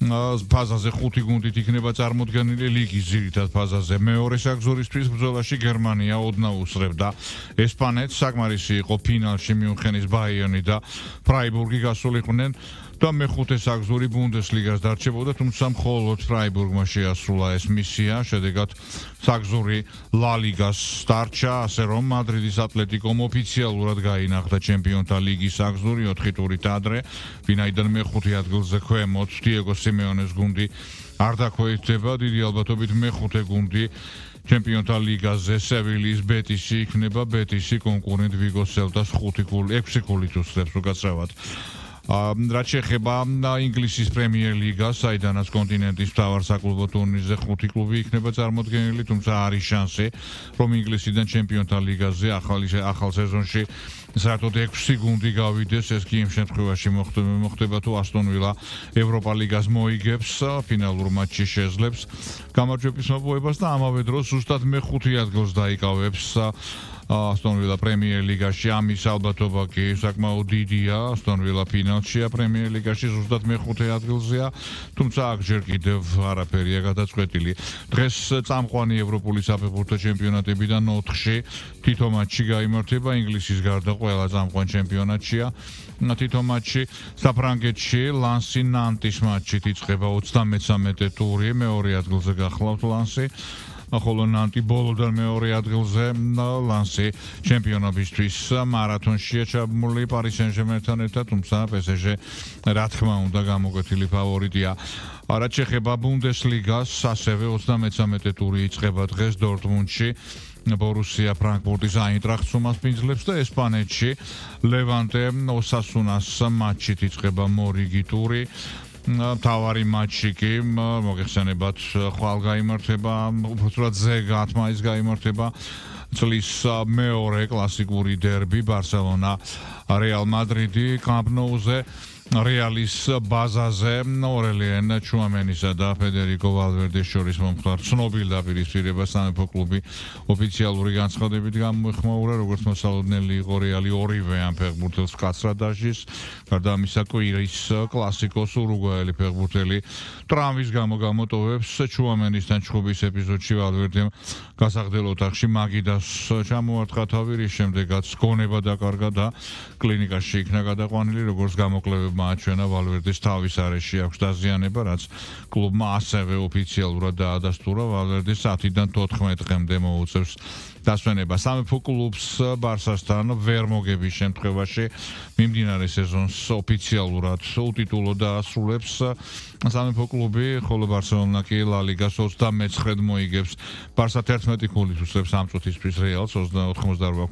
ფაზაზე 5 გუნდით იქნება წარმოდგენილი ლიგის ძირითად ფაზაზე. მეორე საგზურისთვის ბრძოლაში გერმანია ოდნავ უსწრებდა ესპანეთს. საკმარისი იყო ფინალში მიუნხენის ბაიერნი და ფრაიბურგი გასულიყვნენ და მეხუთე საგზური ბუნდესლიგას დარჩებოდა, თუმცა მხოლოდ ფრაიბურგმა შეასრულა ეს მისია. შედეგად საგზური ლა ლიგას დარჩა, ასე რომ მადრიდის ატლეტიკომ ოფიციალურად გაინახდა ჩემპიონთა ლიგის საგზური 4 ტურით ადრე, ვინაიდან მეხუთე ადგილზე ქვემოთ დიეგო სიმეონეს გუნდი არ დაქვეითდება. დიდი ალბათობით მეხუთე გუნდი ჩემპიონთა ლიგაზე სევილიის ბეტისი იქნება. ბეტისი კონკურენტ ვიგო სელტას 6 გოლით უსწრებს უკაცრავად. რაც შეეხება ინგლისის პრემიერ ლიგას, საიდანაც კონტინენტის მთავარ საკლუბო ტურნირზე 5 კლუბი იქნება წარმოდგენილი, თუმცა არის შანსი, რომ ინგლისიდან ჩემპიონთა ლიგაზე ახალ სეზონში საერთოდ 6 გუნდი გავიდეს. ეს კი იმ შემთხვევაში მოხდება თუ ასტონ ვილა ევროპა ლიგას მოიგებს, ფინალურ მატჩში შეძლებს გამარჯვების მოპოვებას და ამავე დროს ზუსტად მეხუთე ადგილს დაიკავებს ასტონ ვილა პრემიერ ლიგაში. ამის ალბათობა კი საკმაოდ დიდია. ასტონ ვილა ფინალშია პრემიერ ლიგაში, ზუსტად მეხუთე ადგილზეა, თუმცა აქ ჯერ კიდევ არაფერია გადაწყვეტილი. დღეს წამყვანი ევროპული საფეხბურთო ჩემპიონატებიდან 4-ში თითო მატჩი გაიმართება. ინგლისის გარდა ყველა წამყვან ჩემპიონატშია თითო მატჩი. საფრანგეთში ლანსი ნანტის მატჩით იწყება 33 ტური, მეორე ადგილზე გახლავთ ლანსი. ხოლო ნანტი ბოლოდან მეორე ადგილზე. ლანსი ჩემპიონობისთვის მარათონშია ჩაბმული პარი სენ-ჟერმენთან ერთად, თუმცა PSG რა თქმა უნდა გამოკვეთილი ფავორიტია. რაც შეეხება ბუნდესლიგას, ასევე 33 ტური იწყება დღეს დორტმუნდში. ბორუსია ფრანკფურტის აინტრახტს უმასპინძლებს და ესპანეთში ლევანტე ოსასუნას მატჩით იწყება მორიგი ტური. თავარი მატჩი კი მოგეხსენებათ ხვალ გაიმართება, უბრალოდ ზეგ 10 მაისს გაიმართება წლის მეორე კლასიკური დერბი ბარსელონა რეალ მადრიდი კამპ ნოუზე. რეალის ბაზაზე ორელიან ჩუამენისა და ფედერიკო ვალვერდეს შორის მომხდარ ცნობილ დაპირისპირებას სამეფო კლუბი ოფიციალური განცხადებით გამოეხმაურა, როგორც მოსალოდნელი იყო რეალი ორივე ამ ფეხბურთელს მკაცრად დასჯის. გარდა ამისა, კვირის კლასიკოს ურუგვაელი ფეხბურთელი ტრავმის გამო გამოტოვებს. ჩუამენისთან ჩხუბის ეპიზოდში ვალვერდემ გასახდელ ოთახში მაგიდას ჩამოარტყა თავი, რის შემდეგაც გონება დაკარგა და კლინიკაში იქნა გადაყვანილი, როგორც გამოკლებებმა აჩვენა ვალვერდეს თავის არეში აქვს დაზიანება, რაც კლუბმა ასევე ოფიციალურად დაადასტურა. ვალვერდეს 10-დან 14 დღემდე მოუწევს დასვენება. სამეფო კლუბს ბარსასთან ვერ მოგების შემთხვევაში მიმდინარე სეზონს ოფიციალურად უტიტულო დაასრულებს სამეფო კლუბი, ხოლო ბარსელონა კი ლა ლიგას 29-ად მოიგებს. ბარსა 11 ქულით უსწრებს ამ წუთისთვის რეალს 88